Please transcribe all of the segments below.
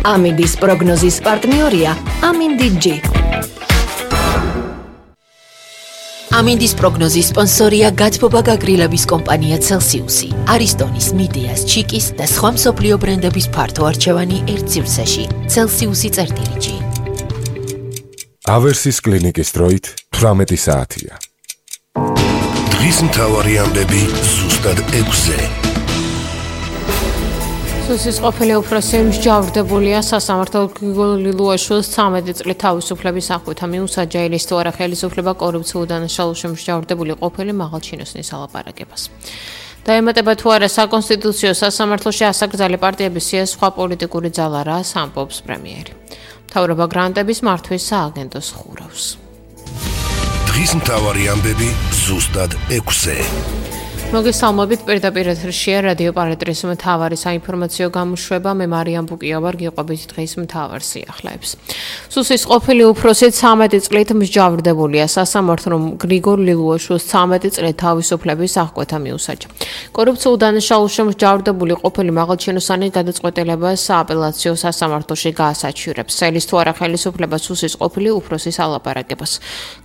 ამინდის პროგნოზის პარტნიორია ამინდი-G. ამინდის პროგნოზის სპონსორია გათბობა გაგრილების კომპანია Celsius-ი, არისტონის, მიდეას, ჩიკის და სხვა მსოფლიო ბრენდების ფართო არჩევანი ერთ სივრცეში. Celsius-G. ავერსის კლინიკის დროით 18 საათია. დღის მთავარი ამბები ზუსტად 6-ზე. სუსის ყოფილი უფროსი მსჯავრდებულია სასამართლო გრიგოლ ლილუაშვილის 13 წლის თავისუფლების აღკვეთა მიუსაჯა ის თუ არა ხელისუფლება კორუფციულ დანაშაულში მსჯავრდებული ყოფილი მაღალჩინოსნის ალაპარაკებას. დაემატება თუ არა საკონსტიტუციო სასამართლოში ასაკრძალი პარტიების სია სხვა პოლიტიკური ძალა რას ამბობს პრემიერი. მთავრობა გრანტების მართვის სააგენტოს ხურავს. დღის მთავარი ამბები ზუსტად 6-ზე. მოგესალმებით, პირდაპირ ეთერშია რადიო პარატრის მთავარი საინფორმაციო გამოშვება. მე მარიამ ბუკია ვარ, გიყვებით დღის მთავარ სიახლეებს. სუსის ყოფილი უფროსი 13 წლით მსჯავრდებულია სასამართლომ გრიგოლ ლილუაშვილის 13 წლის თავისუფლების აღკვეთა მიუსაჯა. კორუფციულ დანაშაულში მსჯავრდებული ყოფილი მაღალჩინოსანი გადაწყვეტილებას სააპელაციო სასამართლოში გაასაჩივრებს. სელის თუ არა ხელისუფლება სუსის ყოფილი უფროსის ალაპარაკებას.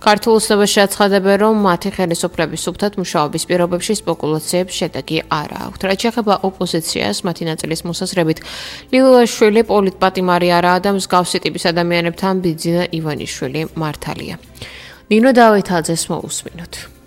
ქართულ ოცნებაში აცხადებენ, რომ მათი ხელისუფლების სუფთად მუშაობის პირობებში სპეკულაციებს შედეგი არ აქვთ. რაც შეეხება ოპოზიციას, მათი ნაწილის მოსაზრებით, ლილუაშვილი პოლიტპატიმარი არაა და მსგავსი ტიპის ადამიანებთან ბიძინა ივანიშვილი მართალია. ნინო დავითაძეს მოусმინოთ.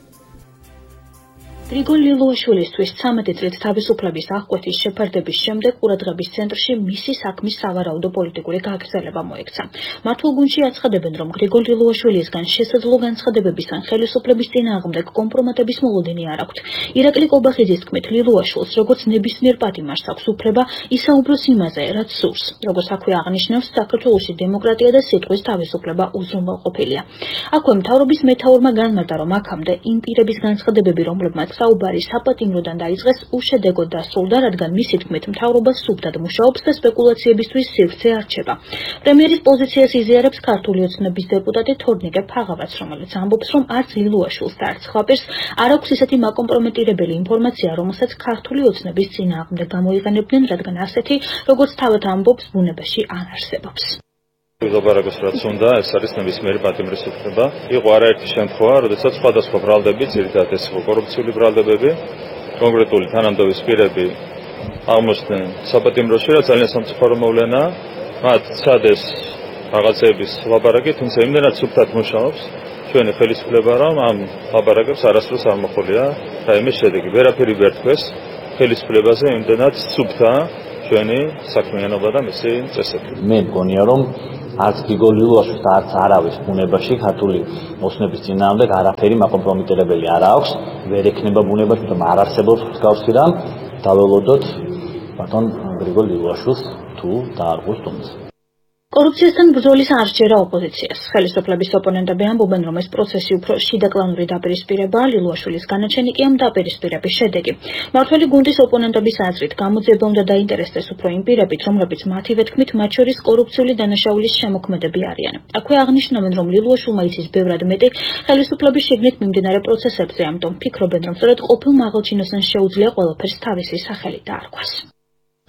გრიგოლ ლილუაშვილისთვის 13 წლით თავისუფლების აღკვეთის შეფარდების შემდეგ ყურადღების ცენტრში მისი საქმის სავარაუდო პოლიტიკური გაგრძელება მოექცა. მართულ გუნდში აცხადებენ, რომ გრიგოლ ლილუაშვილისგან შესაძლო განცხადებების ან ხელისუფლების წინააღმდეგ კომპრომატების მოლოდინი არ აქვთ. ირაკლი კობახიძის თქმით, ლილუაშვილს როგორც ნებისმიერ პატიმარს აქვს უფლება ისაუბროს იმაზე, რაც სურს. როგორც აქვე აღნიშნავს, საქართველოში დემოკრატია და სიტყვის თავისუფლება უზრუნველყოფილია. აქვე მთავრობის მეთაურმა განმარტა, რომ აქამდე იმ პირების განცხადებები, რომლებმაც საუბარი საპატიმროდან დაიწყეს, უშედეგოდ დასრულდა, რადგან მისი თქმით მთავრობა სუფთად მუშაობს და სპეკულაციებისთვის სივრცე არჩება. პრემიერის პოზიციას იზიარებს ქართული ოცნების დეპუტატი თორნიკე ფაღავაც, რომელიც ამბობს, რომ არც ლილუაშვილს და არც სხვა პირს არ აქვს ისეთი მაკომპრომეტირებელი ინფორმაცია, რომელსაც ქართული ოცნების წინააღმდეგ გამოიყენებდნენ, რადგან ასეთი, როგორც თავად ამბობს, ბუნებაში არ არსებობს. ლაპარაკოს რაც უნდა, ეს არის ნებისმიერი პატიმრის უფლება. იყო არაერთი შემთხვევა, როდესაც სხვადასხვა ბრალდები, ძირითადად ეს კორუფციული ბრალდებები, კონკრეტული თანამდებობის პირები აღმოჩნდნენ საპატიმროში, რაც ძალიან სამწუხარო მოვლენაა. მათ სცადეს რაღაცების ლაპარაკი, თუმცა იმდენად სუფთად მუშაობს ჩვენი ხელისუფლება, რომ ამ ლაპარაკებს არასდროს არ მოხოლია რაიმე შედეგი. ვერაფერი ვერ თქვეს ხელისუფლებაზე, იმდენად სუფთაა ჩვენი საქმიანობა და მისი წესები. მე მგონია, რომ არც გრიგოლ ლილუაშვილს და არც არავის ბუნებაში ქართული ოცნების წინააღმდეგ არაფერი მაკომპრომიტირებელი არ აქვს. ვერ ექნება ბუნებაში, თუმცა არ არსებობს მსგავსი რამ. დაველოდოთ ბატონ გრიგოლ ლილუაშვილს თუ დაარღვევს თუმცა. კორუფციასთან ბრძოლის არ სჯერა ოპოზიციას. ხელისუფლების ოპონენტები ამბობენ, რომ ეს პროცესი უფრო შიდა კლანური დაპირისპირებაა, ლილუაშვილის განაჩენი კი ამ დაპირისპირების შედეგი. მართველი გუნდის ოპონენტების აზრით, გამოძიება უნდა დაინტერესდეს უფრო იმ პირებით, რომლებიც მათივე თქმით, მათ შორის კორუფციული დანაშაულის შემოქმედები არიან. აქვე აღნიშნავენ, რომ ლილუაშვილმა იცის ბევრად მეტი ხელისუფლების შიგნით მიმდინარე პროცესებზე, ამიტომ ფიქრობენ, რომ სწორედ ყოფილ მაღალჩინოსანს შეუძლია ყველაფერს თავისი სახელით დაარქვას.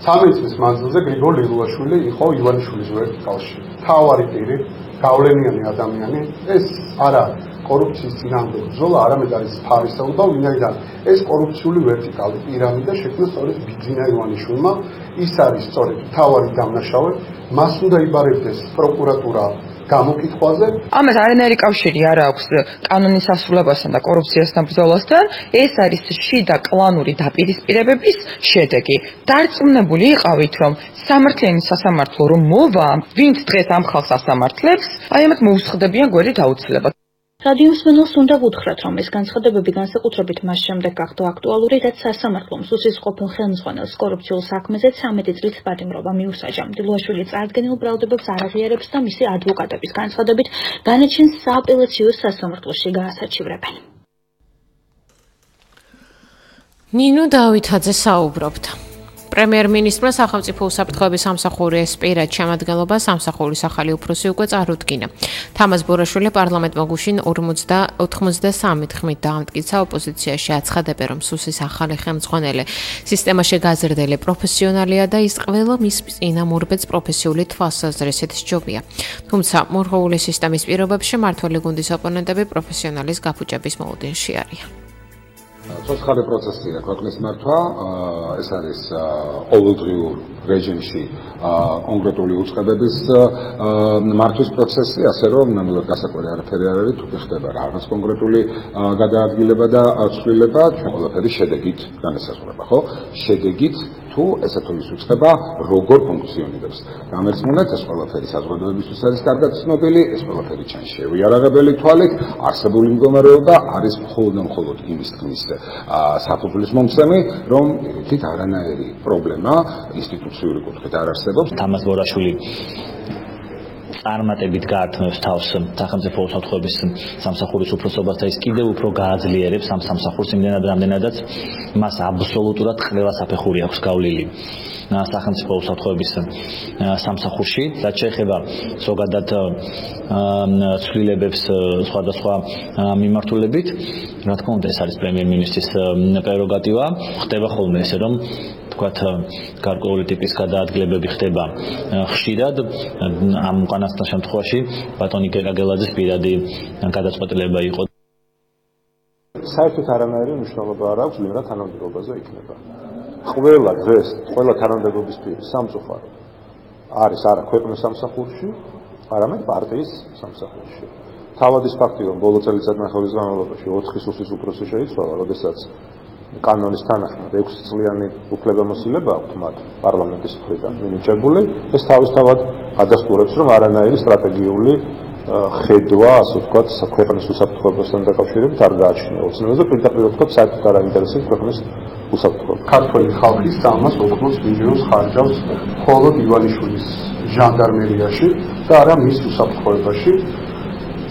13 წლის მანძილზე გრიგოლ ლილუაშვილი იყო ივანიშვილის ვერტიკალში. მთავარი პირი, გავლენიანი ადამიანი, ეს არა კორუფციის წინააღმდეგ ბრძოლა, არამედ არის თავისთავად, ვინაიდან ეს კორუფციული ვერტიკალი პირამიდა შექმნა სწორედ ბიძინა ივანიშვილმა. ის არის სწორედ მთავარი დამნაშავე, მას უნდა იბარებდეს პროკურატურა გამოკითხვაზე. ამას არანაირი კავშირი არ აქვს კანონის ასრულებასთან და კორუფციასთან ბრძოლასთან. ეს არის შიდა კლანური დაპირისპირებების შედეგი. დარწმუნებული იყავით, რომ სამართლიანი სასამართლო რომ მოვა, ვინც დღეს ამ ხალხს ასამართლებს, აი ამათ მოუსხდებიან გვერდით აუცილებლად. რადიოს მსმენელს უნდა ვუთხრათ, რომ ეს განცხადებები განსაკუთრებით მას შემდეგ გახდა აქტუალური, რაც სასამართლომ სუსის ყოფილ ხელმძღვანელს კორუფციულ საქმეზე 13 წლის პატიმრობა მიუსაჯა. ლილუაშვილი წარდგენილ ბრალდებებს არ აღიარებს და მისი ადვოკატების განცხადებით განაჩენს სააპელაციო სასამართლოში გაასაჩივრებენ. ნინო დავითაძე საუბრობდა. პრემიერ-მინისტრმა სახელმწიფო უსაფრთხოების სამსახურის პირად შემადგენლობა სამსახურის ახალი უფროსი უკვე წარუდგინა. თამაზ ბორაშვილი პარლამენტმა გუშინ 93 თქმით დაამტკიცა ოპოზიციაში აცხადებენ, რომ სუსის ახალი ხელმძღვანელი სისტემაში გაზრდილი პროფესიონალია და ის ყველა მის წინამორბედს პროფესიული თვალსაზრისით სჯობია. თუმცა მორღეული სისტემის პირობებში მმართველი გუნდის ოპონენტები პროფესიონალის გაფუჭების მოლოდინში არიან. ცოცხალი პროცესია ქვეყნის მართვა, ეს არის ყოველდღიურ რეჟიმში კონკრეტული უწყებების მართვის პროცესი, ასე რომ ნამდვილად გასაკვირი არაფერი არ არის, თუ ხდება რაღაც კონკრეტული გადაადგილება და ცვლილება, ჩვენ ყველაფერი შედეგით განესაზღვრება, ხო? შედეგით თუ ესა თუ ის უწყება როგორ ფუნქციონირებს. გამერცმუნეთ, ეს ყველაფერი საზოგადოებისთვის არის კარგად ცნობილი, ეს ყველაფერი ჩანს შევიარაღებელი თვალით, არსებული მდგომარეობა არის მხოლოდ იმის თქმის საფუძვლის მომცემი, რომ თვით არანაირი პრობლემა ინსტიტუციური კუთხით არ არსებობს. თამაზ ბორაშვილი წარმატებით გაართმევს თავს სახელმწიფო უსაფრთხოების სამსახურის უფროსობას და ის კიდევ უფრო გააძლიერებს ამ სამსახურს იმდენად რამდენადაც მას აბსოლუტურად ყველა საფეხური აქვს გავლილი სახელმწიფო უსაფრთხოების სამსახურში და შეეხება ზოგადად ცვლილებებს სხვადასხვა მიმართულებით. რა თქმა უნდა, ეს არის პრემიერ-მინისტრის პრეროგატივა. ხდება ხოლმე ესე, რომ თქვათ გარკვეული ტიპის გადაადგილებები ხდება ხშირად. ამ უკანასკნელ შემთხვევაში ბატონი კეკაგელაძის პირადი გადაწყვეტილება იყო. საერთოდ არანაირი მნიშვნელობა არ აქვს ვინ რა თანამდებობაზე იქნება. ყველა დღეს ყველა თანამდებობის პირი სამწუხარო არის არა ქვეყნის სამსახურში, არამედ პარტიის სამსახურში. თავად ის ფაქტი, რომ ბოლო წელიწადნახევრის განმავლობაში 4 სუსის უფროსი შეიცვალა, როდესაც კანონის თანახმად 6 წლიანი უფლებამოსილება აქვთ მათ პარლამენტის მხრიდან მინიჭებული, ეს თავისთავად ადასტურებს, რომ არანაირი სტრატეგიული ხედვა, ასე ვთქვათ, ქვეყნის უსაფრთხოებასთან დაკავშირებით არ გააჩნია. ოცნებაზე პირდაპირ ვთქვათ, საერთოდ არ აინტერესებს ქვეყნის უსაფრთხოება. ქართველი ხალხის სამას ოქროს მინიმუმს ხარჯავს მხოლოდ ივანიშვილის ჟანდარმერიაში და არა მის უსაფრთხოებაში.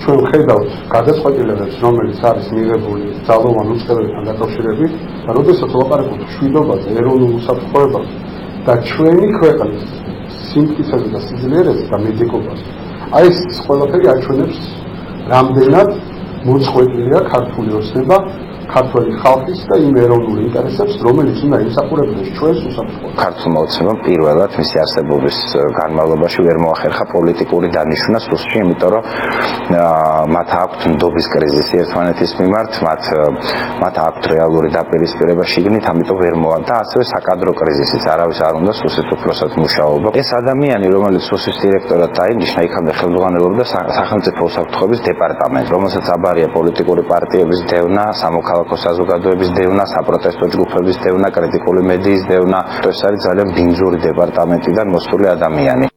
ჩვენ ვხედავთ გადაწყვეტილებებს, რომელიც არის მიღებული ძალოვან უწყებებთან დაკავშირებით, და როდესაც ვლაპარაკობთ მშვიდობაზე, ეროვნულ უსაფრთხოებაზე და ჩვენი ქვეყნის სიმტკიცეზე და სიძლიერეზე და მედიკობაზე, აი ეს ყველაფერი აჩვენებს, რამდენად მოწყვეტილია ქართული ოცნება ქართველი ხალხის და იმ ეროვნულ ინტერესებს, რომელიც უნდა იმსახურებდეს ჩვენს უსაფრთხოებას. ქართულმა ოცნებამ პირველად მისი არსებობის განმავლობაში ვერ მოახერხა პოლიტიკური დანიშვნა სუსში, იმიტომ რომ მათ აქვთ ნდობის კრიზისი ერთმანეთის მიმართ, მათ აქვთ რეალური დაპირისპირება შიგნით, ამიტომ ვერ მოვა და ასევე საკადრო კრიზისიც, არავის არ უნდა სუსის უფროსად მუშაობა. ეს ადამიანი, რომელიც სუსის დირექტორად დაინიშნა, იქამდე ხელმძღვანელობდა სახელმწიფო უსაფრთხოების დეპარტამენტს, რომელსაც აბარია პოლიტიკური პარტიების დევნა, სამოქალაქო საზოგადოების დევნა, საპროტესტო ჯგუფების დევნა, კრიტიკული მედიის დევნა. ეს არის ძალიან ბინძური დეპარტამენტიდან მოსული ადამიანი.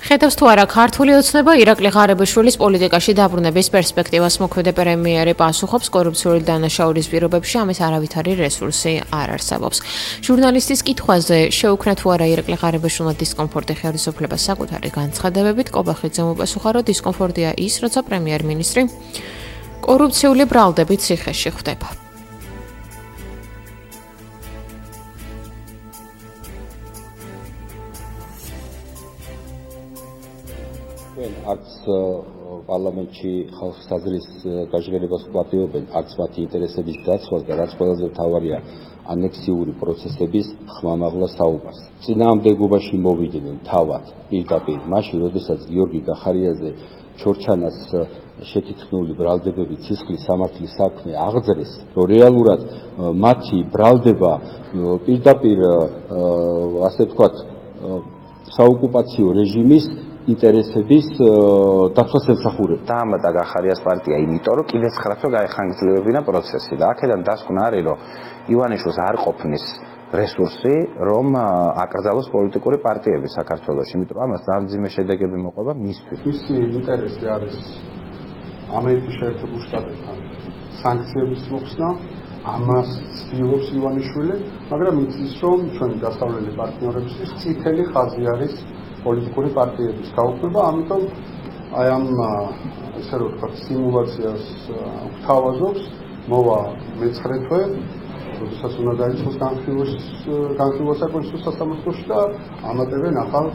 ხედავს თუ არა ქართული ოცნება ირაკლი ღარიბაშვილის პოლიტიკაში დაბრუნების პერსპექტივას მოქმედი პრემიერი პასუხობს, კორუფციული დანაშაულის პირობებში ამის არავითარი რესურსი არ არსებობს. ჟურნალისტის კითხვაზე შეუქმნა თუ არა ირაკლი ღარიბაშვილმა დისკომფორტი ხელისუფლებას საკუთარი განცხადებებით, კობახიძემ უპასუხა, რომ დისკომფორტია ის, როცა პრემიერ-მინისტრი კორუფციული ბრალდებით ციხეში ხვდება. არც პარლამენტში ხალხის აზრის გაჟღერებას ვპატიობენ, არც მათი ინტერესების დაცვას და რაც ყველაზე მთავარია, ანექსიური პროცესების ხმამაღლა საუბარს. წინააღმდეგობაში მოვიდნენ თავად პირდაპირ მაშინ, როდესაც გიორგი გახარიაზე ჩორჩანას შეთითქმული ბრალდებები ცისხლის სამართლის საქმე აღძრეს, რომ რეალურად მათი ბრალდება პირდაპირ ასე ვთქვათ საოკუპაციო რეჟიმის ინტერესების დაცვას ემსახურება. დაამატა გახარიას პარტია, იმიტომ რომ კიდევ 9 თვე გაეხანგრძლივებინა პროცესი და აქედან დასკვნა არის, რომ ივანიშვილს არ ყოფნის რესურსი, რომ აკრძალოს პოლიტიკური პარტიები საქართველოში, იმიტომ რომ ამას დამძიმე შედეგები მოყვება მისთვის. მისი ინტერესი არის ამერიკის შეერთებულ შტატებთან სანქციების მოხსნა, ამას ცდილობს ივანიშვილი, მაგრამ იცის, რომ ჩვენი დასავლელი პარტნიორებისთვის წითელი ხაზი არის პოლიტიკური პარტიების გაუქმება, ამიტომ აი ამ ესე რომ ვთქვათ, სიმულაციას გვთავაზობს, მოვა მე-9 თვე, როდესაც უნდა დაიწყოს განხილვა საკონსულტაციო სასამართლოში და ამატებენ ახალ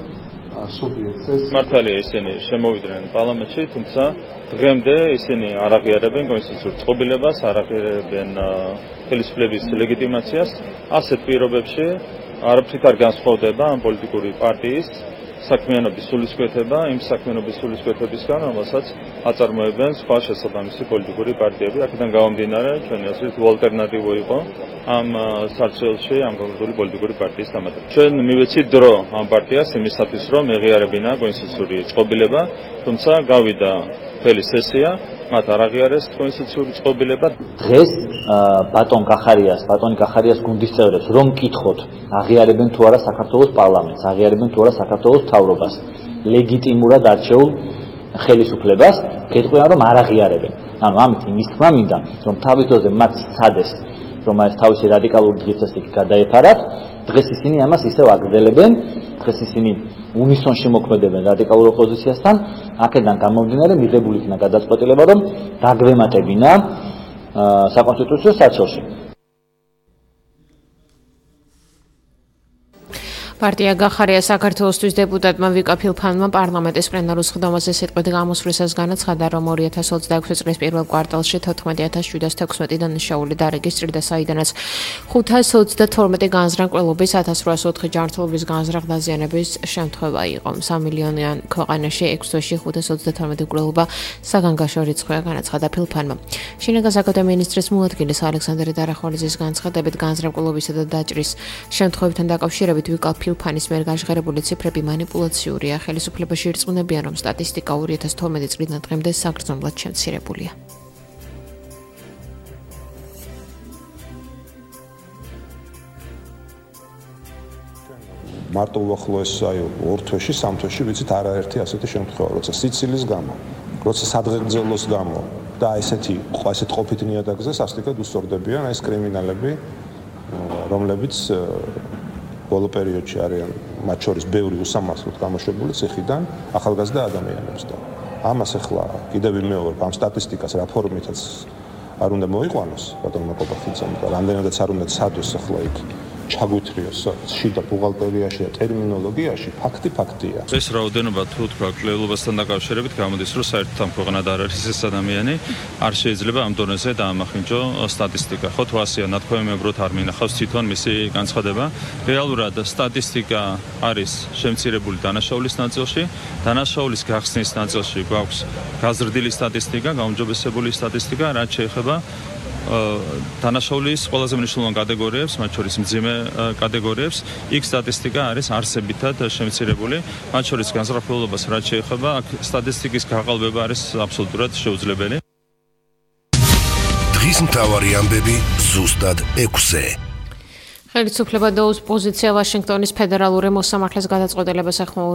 სუბიექტს. მართალია ისინი შემოვიდნენ პარლამენტში, თუმცა დღემდე ისინი არ აღიარებენ კონსტიტუციურ წყობილებას, არ აღიარებენ ხელისუფლების ლეგიტიმაციას. ასეთ პირობებში არაფრით არ განსხვავდება ამ პოლიტიკური პარტიის საქმიანობის სულისკვეთება იმ საქმიანობის სულისკვეთებისგან, რომელსაც აწარმოებენ სხვა შესაბამისი პოლიტიკური პარტიები. აქედან გამომდინარე, ჩვენი აზრით, ალტერნატივა იყო ამ სარჩელში ამ კონკრეტული პოლიტიკური პარტიის დამატება. ჩვენ მივეცით დრო ამ პარტიას იმისათვის, რომ ეღიარებინა კონსტიტუციური წყობილება, თუმცა გავიდა მთელი სესია, მათ არ აღიარეს კონსტიტუციური წყობილება. დღეს ბატონი კახარიას გუნდის წევრებს რომ კითხოთ, აღიარებენ თუ არა საქართველოს პარლამენტს, აღიარებენ თუ არა საქართველოს მთავრობას, ლეგიტიმურად არჩეულ ხელისუფლებას, გეტყვიან რომ არ აღიარებენ. ანუ ამით იმის თქმა მინდა, რომ თავის დროზე მათ სცადეს, რომ ეს თავისი რადიკალური დღესასწაული გადაეფარათ, დღეს ისინი ამას ისევ აგრძელებენ, დღეს ისინი უნისონში მოქმედებენ რადიკალურ ოპოზიციასთან, აქედან გამომდინარე მიღებული იქნა გადაწყვეტილება, რომ დაგვემატებინა საკონსტიტუციო სარჩელში. პარტია გახარია საქართველოსთვის დეპუტატმა ვიკა ფილფანმა პარლამენტის პლენარულ სხდომაზე სიტყვით გამოსვლისას განაცხადა, რომ 2026 წლის პირველ კვარტალში 14716 დანაშაული დარეგისტრირდა, საიდანაც 532 განზრახ-ყრილობის 1804 ჯანმრთელობის განზრახ დაზიანების შემთხვევა იყო. 3 მილიონიან ქვეყანაში 6 თვეში 532 ყრილობა საგანგაშო რიცხვია, განაცხადა ფილფანმა. შინაგან საქმეთა მინისტრის მოადგილის ალექსანდრე დარახვალიძის განცხადებით, განზრახ-ყრილობისა და დაჭრის შემთხვევებთან დაკავშირებით ვიკა ფილფანის მიერ გაჟღერებული ციფრები მანიპულაციურია. ხელისუფლებაში ირწმუნებიან, რომ სტატისტიკა 2012 წლიდან დღემდე საგრძნობლად შემცირებულია. მარტო უახლოეს აი 2 თვეში, 3 თვეში ვიცით არაერთი ასეთი შემთხვევა, როცა სიცილის გამო, როცა სადღეგრძელოს გამო და ესეთ ყოფით ნიადაგზე სასტიკად უსწორდებიან ეს კრიმინალები, რომლებიც ბოლო პერიოდში არიან მათ შორის ბევრი უსამართლოდ გამოშვებული ციხიდან ახალგაზრდა ადამიანებს და ამას ახლა კიდევ ვიმეორებ ამ სტატისტიკას რა ფორმითაც არ უნდა მოიყვანოს ბატონმა კობახიძემ და რამდენადაც არ უნდა ცადოს ახლა იქ ჩაგვითრიოს შიდა ბუღალტერიაში და ტერმინოლოგიაში ფაქტია. ეს რაოდენობა თუ თქვა კვლევებასთან დაკავშირებით გამოდის, რომ საერთოდ ამ ქვეყანად არ არის ეს ადამიანი, არ შეიძლება ამ დონეზე დაამახინჯო სტატისტიკა. ხო თუ ასეა ნათქვამებრივად არ მინახავს თვითონ მისი განცხადება. რეალურად სტატისტიკა არის შემცირებული დანაშაულის ნაწილში, დანაშაულის გახსნის ნაწილში გვაქვს გაზრდილი სტატისტიკა, გაუმჯობესებული სტატისტიკა, რაც შეეხება დანაშაულის ყველაზე მნიშვნელოვან კატეგორიებს, მათ შორის მძიმე კატეგორიებს, იქ სტატისტიკა არის არსებითად შემცირებული, მათ შორის განზრახულობას რაც შეეხება, აქ სტატისტიკის გაყალბება არის აბსოლუტურად შეუძლებელი. დღის მთავარი ამბები ზუსტად 6-ზე. ხელისუფლება და ოპოზიცია ვაშინგტონის ფედერალური მოსამართლეს გადაწყვეტილებას ეხმაურებიან.